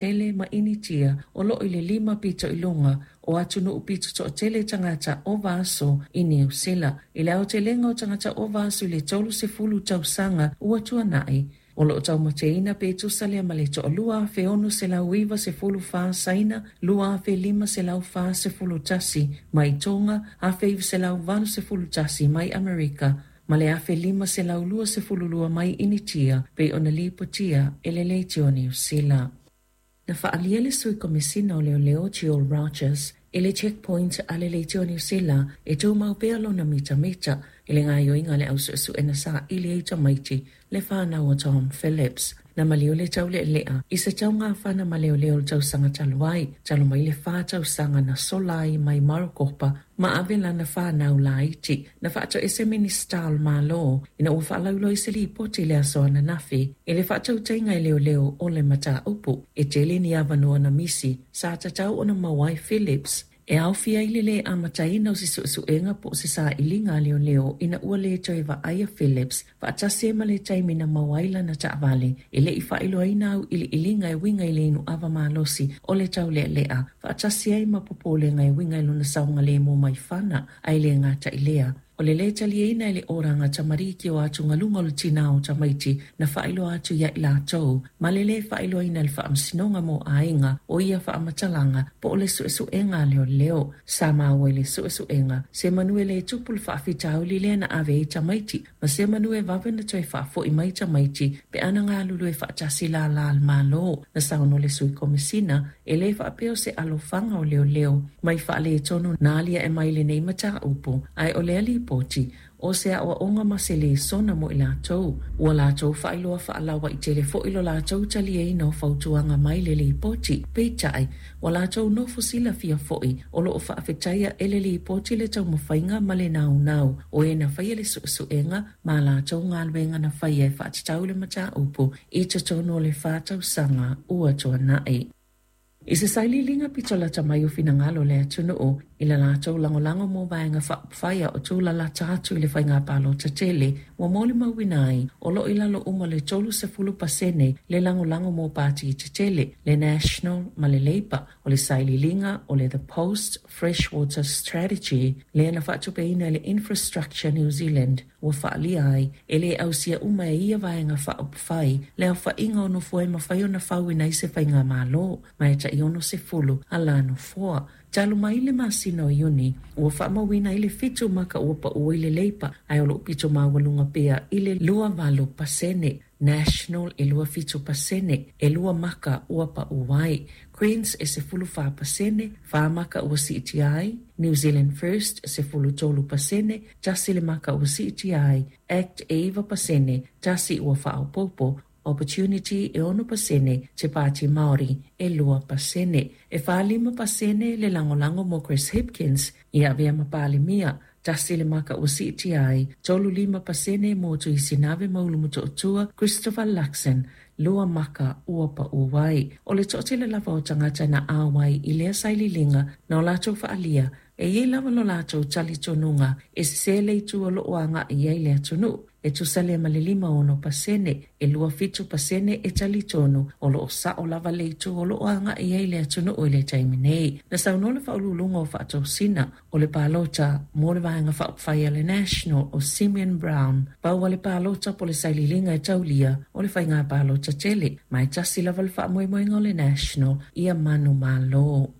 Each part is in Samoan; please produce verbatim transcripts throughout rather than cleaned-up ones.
Tele ma Initia o loo i le lima pito i luga o atunuu pito toatele tagata ova aso i Niu Sila. I le aotelega o tagata ova aso i le tolu sefulu tausaga ua tuanai, o loo taumateina pe tusa lea ma le toalua afe ono selau iva sefulu fa Saina, lua afe lima selau fa sefulu tasi mai Tonga, afe iva selau valu sefulu tasi mai Amerika, ma le afe lima selau lua sefulu lua mai Initia, pe ona lipotia e le leitio Niu Sila. Na faalia le sui komesina o leoleo Jill Rogers i le checkpoint a le leitio Niu Sila e tumau pea lona mitamita i le gaoioiga a le ausuesuena saili ai tamaiti le fanau o Tom Phillips. Na maliu le taulealea i se taugafana ma leoleo o le tausaga talu ai, talu mai le fa tausaga na sola ai mai Marokopa ma ave lana fanau laiti. Na faatoese Minista o le Malo ina ua faalauiloa i se lipoti i le aso ananafi i le faatautaiga e leoleo o le mataupu. E tele ni avanoa na misi sa tatau ona maua ai Phillips e aofia ai le lē amataina o se suesuega po o se sailiga a leoleo ina ua lē toe vaaia Phillips faatasi ai ma le taimi na maua ai lana taavale e le i faailoaina auiliiliga e uiga i le inuava malosi o le taulealea faatasi ai ma popolega e uiga i lona saogalemu mai fana ae le gata i lea. O le lē taliaina e le oraga tamariki o atugaluga o le tinā o tamaiti na faailoa atu ia i latou ma le lē faailoaina e le faamasinoga mo aiga o ia faamatalaga po o le suesuega a leoleo. Sa maua i le suesuega se manu e lē tupu le faafitauli lea na ave ai tamaiti ma se manu e vave na toe faafoi mai tamaiti pe ana galulue faatasi lala le Malo. Na saunoa le sui komesina e lē faapea o se alofaga o leoleo mai faaletonu na aliae mai lenei mataupu, ae o lea lipoti o se aoaoga ma se lesona mo i latou. Ua latou faailoa faalauaitele foi lo latou taliaina o fautuaga mai le lipoti. Peitai, ua latou nofo silafia foi o loo faafetaia e le lipoti le taumafaiga ma le naunau o e na faia le suesuega ma latou galuega na faia e faatatau le mataupu i totonu o le fa tausaga ua tuanai. I se sailiiliga pito lata mai o finagalo o le atunuu i le latou lagolago mo vaega faaupufai o tūlalata atu i le faiga palota tele, ua molimauina ai o loo i lalo uma le tolu sefulu pasene le lagolago mo pati tetele, le National ma le Labour. O le sailiiliga o le The Post Freshwater Strategy lea na faatupeina e le Infrastructure New Zealand ua faalia ai e lē ausia uma e ia vaega faaupufai le aofaiga o nofoa e mafai ona fauina ai se faigamalo ma e tai ono sefulu ala nofoa. Talu mai le masina o Iuni, ua faamauina ai le fitu maka ua paua i le Labour, ae o loo pito maualuga pea i le lua valo pasene. National e lua fitu pasene, e lua maka ua pau ai. Greens e sefulu fa pasene, fa maka ua siitia ai. New Zealand First sefulu tolu pasene, tasi le maka ua siitia ai. Act e iva pasene, tasi ua faaopoopo. Opportunity e ono pasene, Te Pāti Māori e lua pasene. E whālima pasene le lagolago mo Chris Hipkins i avea ma Palemia, tasi le maka ua siitia ai. Tolu lima pasene mo Tuisinave ma Ulu Motootua Christopher Luxon, lua maka ua pau ai. O le toatele lava o tagata na auai i lea sailiiliga na o latou faalia e iai lava lo latou talitonuga e sesē le itu o loo aga'i ai le atunuu. E tusa lea ma le lima ono pasene, e lua fitu pasene e talitonu o loo sao lava le itu o loo aga'i ai le atunuu i le taimi nei. Na saunoa le faauluuluga o faatosina o le palota mo le vaega faaupufai a le National o Simeon Brown, pau a le palota po le sailiiliga e taulia o le faiga palota tele, ma e tasi lava le faamoemoega o le National ia manumalo.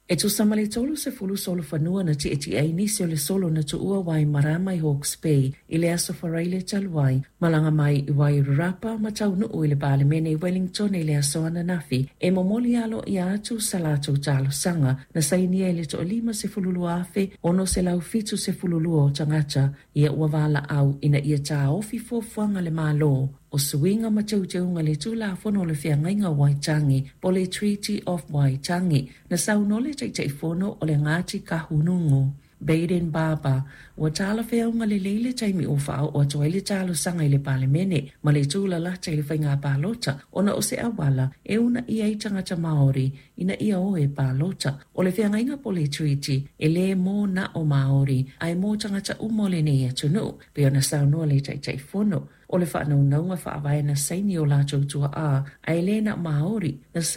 E tusa ma le tolu sefulu solofanua na tietie ai nisi o le solo na tuua Waimarama i Hawke's Bay i le aso Faraile talu ai, malaga mai i Wairarapa ma taunuu i le Palemene i Wellington i le aso ananafi e momoli aloaia atu sa latou talosaga na sainia e le toalima sefulu lua afe ono selau fitu sefulu lua o tagata ia ua valaau ina ia taofi fuafuaga a le Malo o suiga ma teuteuga le Tulafono o le Feagaiga o Waitangi po le Treaty of Waitangi. Na saunoa le Taitaifono o le Ngāti Kahungunu Bayden Barber ua talafeauga lelei le taimi ua faaoo atu ai le talosaga i le Palemene ma le tūlalata i le faiga palota ona o se auala e uunaia ai tagata Māori ina ia o e palota. O le feagaiga po le treaty e lē mo na o Māori ae mo tagata uma o lenei atunuu, pe ona saunoa le Taitaifono. O le faanaunauga faavae na saini o latou tuaa ae lē na Māori na saini